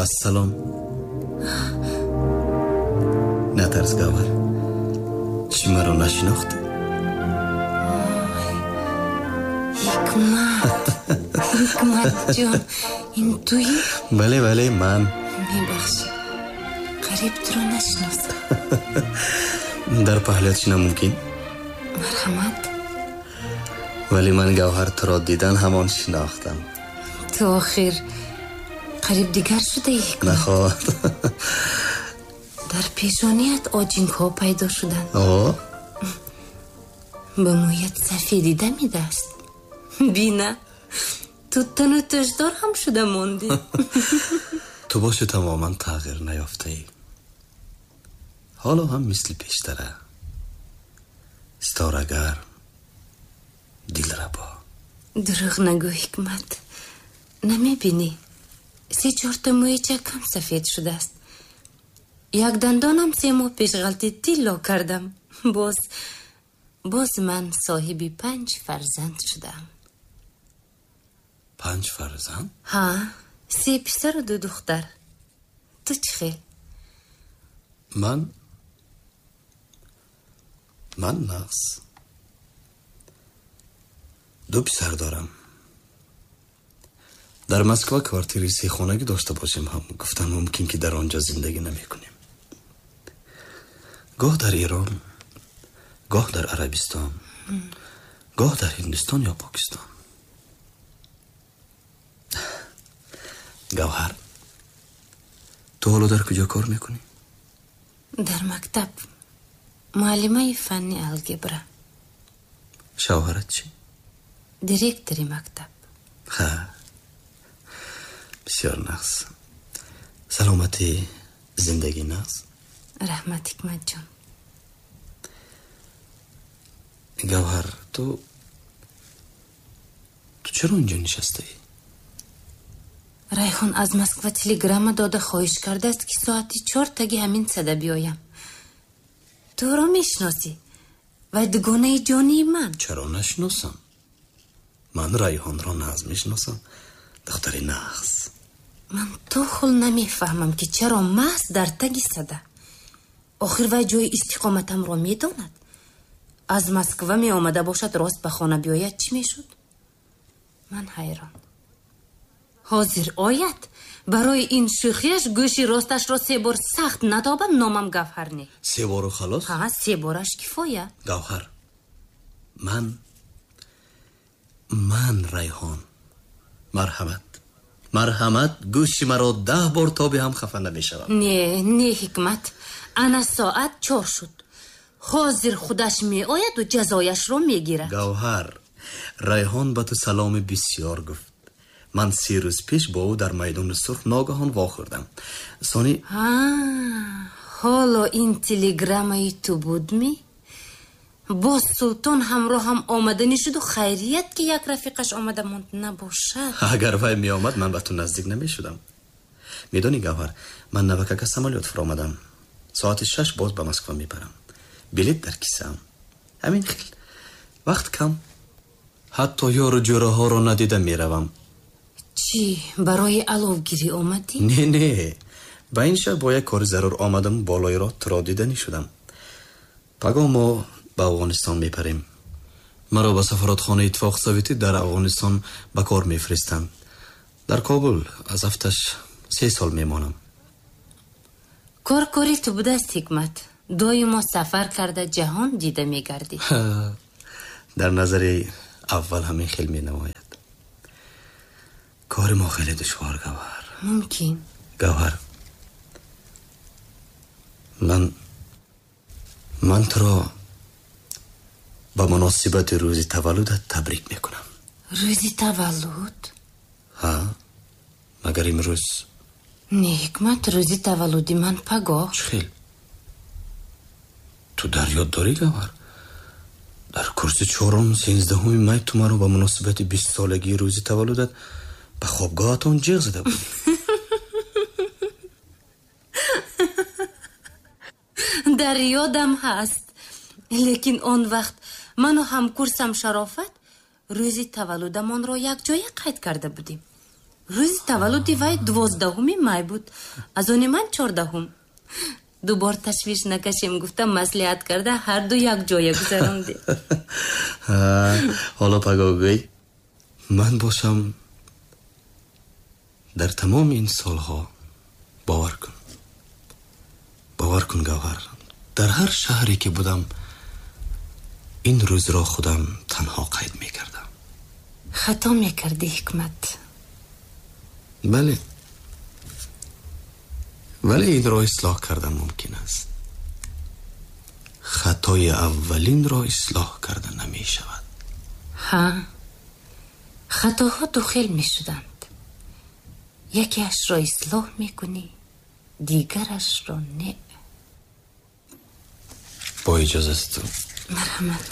Ассалом. Натарс, Гавҳар. Чӣ маро нашинохтӣ? Ҳикмат, Ҳикмат ҷон, ин туӣ? Бале, бале, ман. Мебахшӣ, қариб туро нашинохтам. Дар паҳлӯят шинам мумкин? Марҳамат. Вале ман, Гавҳар, туро дидан ҳамон шинохтам. Ту охир қариб дигар шудаӣ, Ҳикмат. Нахоҳад. Дар пешоният оҷингҳо пайдо шуданд. О? Ба мӯят сафедӣ дамидааст. Бина, ту тану тӯшдор ҳам шуда мондӣ. Ту боши тамоман тағйир наёфтаӣ. Ҳоло ҳам мисли пештара. Ситорагар, дилрабо. Дурӯғ нагӯ, Ҳикмат. Намебинӣ, се чорта мӯи чакам сафед шудааст. Як дандонам 3 моҳ пеш ғалти тилло кардам. Боз ман соҳиби 5 фарзанд шудам. 5 фарзанд? Ҳа, 3 писару 2 духтар. Ту чӣ хел? Ман нағз. 2 писар дорам. Дар Москва квартири сехонагӣ дошта бошем ҳам гуфтан мумкин ки дар он ҷо зиндагӣ намекунем. Гоҳ дар Эрон, гоҳ дар Арабистон, гоҳ дар Ҳиндустон ё Покистон. Гавҳар, ту ҳоло дар куҷо кор мекунӣ? Дар мактаб, муаллимаи фанни алгебра. Шавҳарат чӣ? Директори мактаб. Ҳа, бисёр нағз. Саломатӣ, зиндагӣ нағз? Раҳмат, Ҳикматҷон. Гавҳар, ту чаро инҷо нишастаӣ? Райҳон аз Москва телеграмма дода хоҳиш кардааст, ки соати 4 таги ҳамин сада биёям. Туро мешиносӣ? Вай дугонаи ҷонии ман. Чаро нашиносам? Ман Райҳонро нағз мешиносам. Духтари нағз. Ман то ҳол намефаҳмам, ки чаро маҳз дар таги сада. Охир вай ҷои истиқоматамро медонад. Аз Москва меомада бошад, рост ба хона биёяд, чӣ мешуд? Ман ҳайрон. Ҳозир ояд, барои ин шӯхиаш гӯши росташро 3 бор сахт надобам, номам Гавҳар не. 3 бору халос? Ҳа, 3 бораш кифоя. Гавҳар, ман Райҳон. Марҳамат, марҳамат, гӯши маро 10 бор тоби ҳам хафа намешавам. Не, не, Ҳикмат, ана соат 4 шуд. Ҳозир худаш меояду ҷазояшро мегирад. Гавҳар, Райҳон ба ту саломи бисёр гуфт. Ман 3 рӯз пеш бо ӯ дар майдони сурх ногаҳон вохӯрдам. Сони ҳоло ин телеграммаи ту будми? Боз Султон ҳамроҳам омаданӣ шуду хайрият, ки як рафиқаш омада монд набошад. Агар вай меомад, ман ба ту наздик намешудам. Медонӣ, Гавҳар, ман навакака самолёт фуромадам. Соати 6 боз ба Москва мебарам. Билет дар кисаам. Ҳамин хел. Вақт кам. Ҳатто ёру ҷӯраҳоро надида меравам. Чӣ, барои аловгирӣ омадӣ? Не, не, ба ин шаҳр бо як кори зарур омадам, болои роҳ туро диданӣ шудам. Пагоҳ мо ба Афғонистон мепарем. Маро ба сафоратхонаи Иттифоқи Советӣ дар Афғонистон ба кор мефиристанд. Дар Кобул аз ҳафташ 3 сол мемонам. Кор кори ту будааст, Ҳикмат. Доимо сафар карда ҷаҳон дида мегардӣ. Дар назари аввал ҳамин хел менамояд. Кори мо хеле душвор, Гавҳар. Мумкин. Гавҳар, ман туро ба муносибати рӯзи таваллудат табрик мекунам. Рӯзи таваллуд? Ҳа, магар имрӯз? Не, Ҳикмат, рӯзи таваллуди ман пагоҳ. Чӣ хел? Ту дар ёд дорӣ, Гавҳар? Дар курси 4 13 май ту маро ба муносибати 20 солагии рӯзи таваллудат ба хобгоҳатон ҷиғ зада будӣ. Дар ёдам ҳаст, лекин он вақт ману ҳамкурсам Шарофат рӯзи таваллудамонро якҷоя қайд карда будем. Рӯзи таваллуди вай 12 май буд, аз они ман 14-ум. Дубор ташвиш накашем гуфта, маслиҳат карда, ҳарду якҷоя гузарондем. Ҳоло пагоҳ гӯй, ман бошам, дар тамоми ин солҳо, бовар кун, бовар кун, Гавҳар, дар ҳар шаҳре ки будам, ин рӯзро худам танҳо қайд мекардам. Хато мекардӣ, Ҳикмат. Бале, вале инро ислоҳ кардан мумкин аст. Хатои аввалинро ислоҳ карда намешавад. Ҳа, хатоҳо ду хел мешуданд: якеашро ислоҳ мекунӣ, дигарашро не. Бо иҷозати ту. Марҳамат.